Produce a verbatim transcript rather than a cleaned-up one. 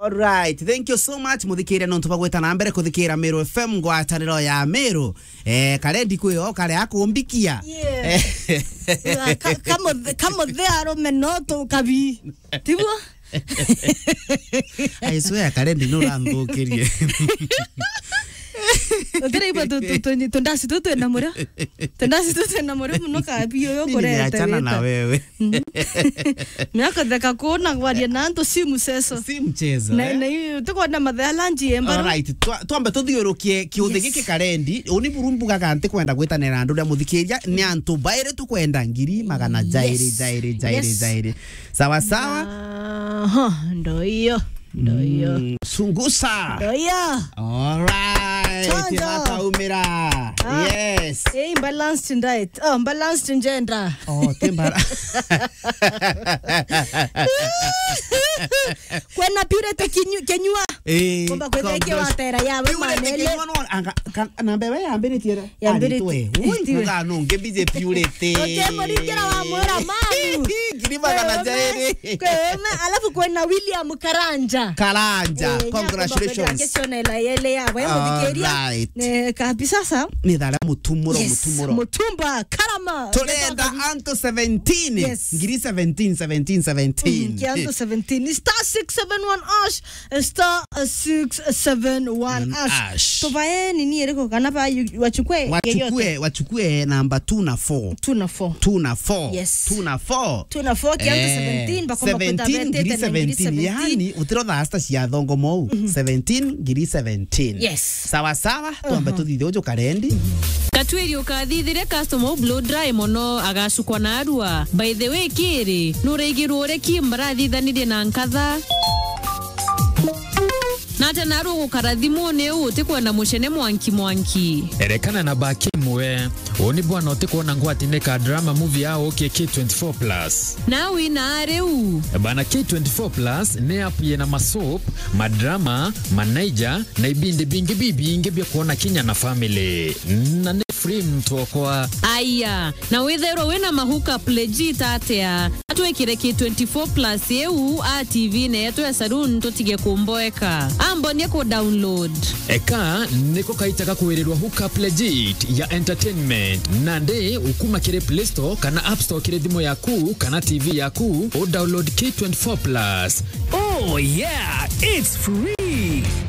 Alright, thank you so much, muthikiria, nontu bagwita na mbere kuthikira Meru F M, ngwataniro ya Meru. Eh, karendi kwi o kare akumbikia. Yeah. Eh. Ka-, kamuthe-, kamuthe arume no tu kabi. Tiguo? I swear, karendi nuranthukirie. Utiraigua tu, tu, tu, tundasi tu twina murio. Tundasi tu twina murio muno kabi uyu. Mimi kureta nimeachana na wita. Wewe. Mhm. Miaka theka kuona kwaria na antu si mchezo. Si mchezo, na, eh? Na hiyo tukwenda mathea lunch yemba. Alright, twa-, twambe tuthiurukie kiuthi. Yes. Giki karendi, uni buru mbugaga nti kwenda gwitanira andu ria muthikiria, ni antu bairi tukwenda ngiri magana jairi, yes, jairi, jairi, yes, jairi. Sawa, sawa? Aha, ndo hiyo. Ndo hiyo. Mm, sungusa. Ndo hiyo. Alright, chonjo. Bakaumira. Ah. Yes. Eh, imbalanced diet. Oh, imbalanced gender. Oh, timbara. Kwena purity kinyu-, kinyua. Eh, kumba kwithike watera yawe manele. Purity kinyua no, anga, kan-, na mbere yambiritie ra? Yambiritie. Aritwe. Ui, itiwe. Kuga no, nge busy purity. Ukemuringira wa mwira mamu. Ngiri magana jairi. Kweme, alafu kwena William Karanja. Karanja. Eh, congratulations. Ngeciona ila yele ya, we muthikiria. Alright. Eh, kabisa sa. Ni thara mutumuro, yes, mutumuro. Mutumba, karama. Turenda antu seventeen. Yes. Ngiri seventeen, seventeen, seventeen. Mm, ki antu seventeen. Ni star six seven one hash, eh, star six seven one hash. Hash. Tubae nini iriko kana ba yu-, wachukue yeyote? Wachukue, wachukue namba two na four. Two na four. Two na four. Yes. Two na four. Two na four, ki antu seventeen, bakomba kwenda seventeen, ngiri betete na ngiri seventeen, seventeen. Yani, utiro thaa sita cia thongo mou. Mhm. Seventeen, ngiri seventeen. Yes. Sawa, sawa, twambe tuthithe uju karendi. Katwiri ukathithiria customer u blow dry mono, agacukwa na arua. By the way, kiri, nuraigirwo uria ki mbarathithanirie na nkatha? Na ata naru ugukara thimuni u utikwenda mucene mwanki mwanki? Erekana na baki imwe. Uni bwana utikwona ngwatine ka drama movie ya ukie K twenty-four plus. Na wina riu. Bana, K twenty-four plus ni app yina masoap, madrama, manaija, na ibindi bingi bibingi bia kwona kinya na family. Na ni free mtu okwa. Aya, na withairwa wina ma hookup legit atia? Atwikire K twenty-four plus iu a T V-ini yetu ya saloon tutige kumboeka. Ambonie ku download. Eka niko kaita ga kwirirwa hookup legit ya entertainment. Nandi ukuma kiri Play Store kana App Store kiri thimu yaku kana T V yaku, u download K twenty-four plus. Oh yeah, it's free.